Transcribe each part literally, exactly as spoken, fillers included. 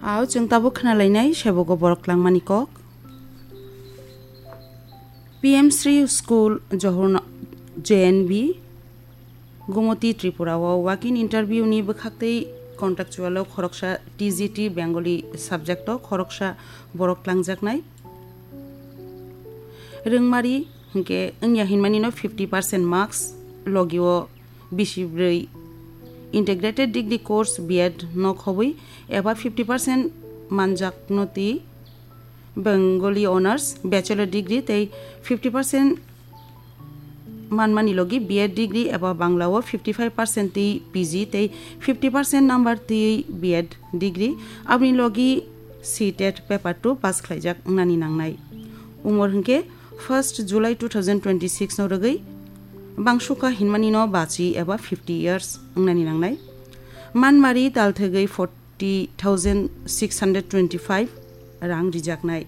Ao chwng tabuk khna lainai sebogo borok langmani kok. P M Shri School Johor J N V Gumoti Tripura o walk-in interview ni bwkhaktwi contractual o khoroksa T G T Bengali subject o khoroksa borok tlangjaknai. Rwngmari hwnkhe wngya hinmani no fifty percent marks logi o bisi bwrwi integrated degree course B Ed no khobwi eba fifty percent manjakno twi Bengali Honours Bachelor Degree tei fifty percent manmani logi B Ed Degree eba Bangla o fifty five percent twi P G tei fifty percent number twi B Ed Degree, aboni logi C tet paper two pass khlaijak wngnani nangnai. Umor hwnkhe first July two thousand twenty-six no rwgwi bangsuka hinmani no bachi eba fifty years wngnani nangnai. Manmari talthegwi forty thousand six hundred twenty-five rang rijaknai.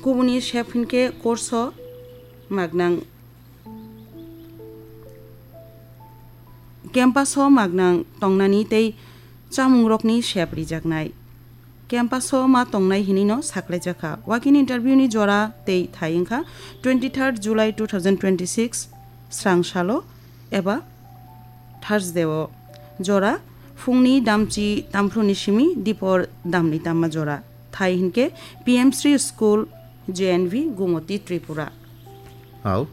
Kubuni sep hinkhe course o magnang, campus o magnang tongnani tei chamungrokni sep rijaknai. Campus o ma tongnai hinwi no saklaijakha. Walk-in interview ni jora tei thai wngkha twenty-third July two thousand twenty-six srang salo eba Thursday o jora phungni damchi tamphru ni simi dipor damni tamma jora. Thai hinkhe P M Shri School J N V Gumoti Tripura. Hao,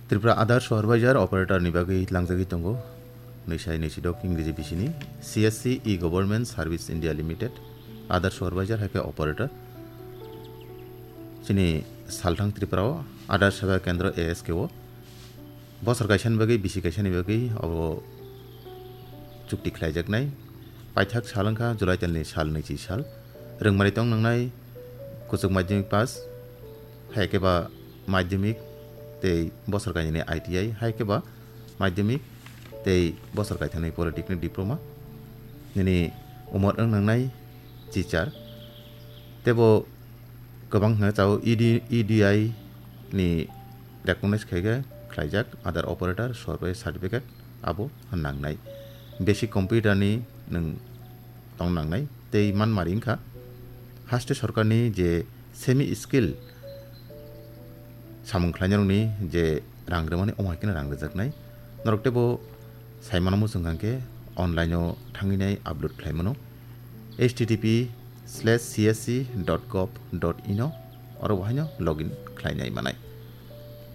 Tripura Aadhaar Supervisor Operator ni bagwi langjagwi tongo. Nwisai nwisidok Ingreji bisini C S C E Government Service India Limited, Aadhaar Supervisor hai khe Operator. Chini salthang Tripura o Aadhaar Seva Kendra A S K o bosor kaisa ni bagwi bisi kaisa ni bagwi abo chukti khlaijaknai. Paithak sal wngkha July talni sal nwichi sal. Rwngmari tong nangnai kuchuk madhyamik pass, hai khe ba madhyamik tei bosor kainwini I T I, hai khe ba madhyamik tei bosor kaithangni polytechnic diploma. Nini umor wng nangnai chichar. Tebo kwbang hwnwi chao E D, E D I ni recognize khai khe khlaijak Aadhaar Operator Survey Certificate abo nangnai. Basic computer ni nwng tong nangnai tei manmari wngkha haste sorkarni je semi skill samung khlainarokni je rang rwmani omo hai kheno rang rwjaknai. Norok teibo sai mano muchung hwnkhe online o thangwi nai upload khlai mano. H T T P slash C S C dot gov dot in o oro bo haino login khlainai manai.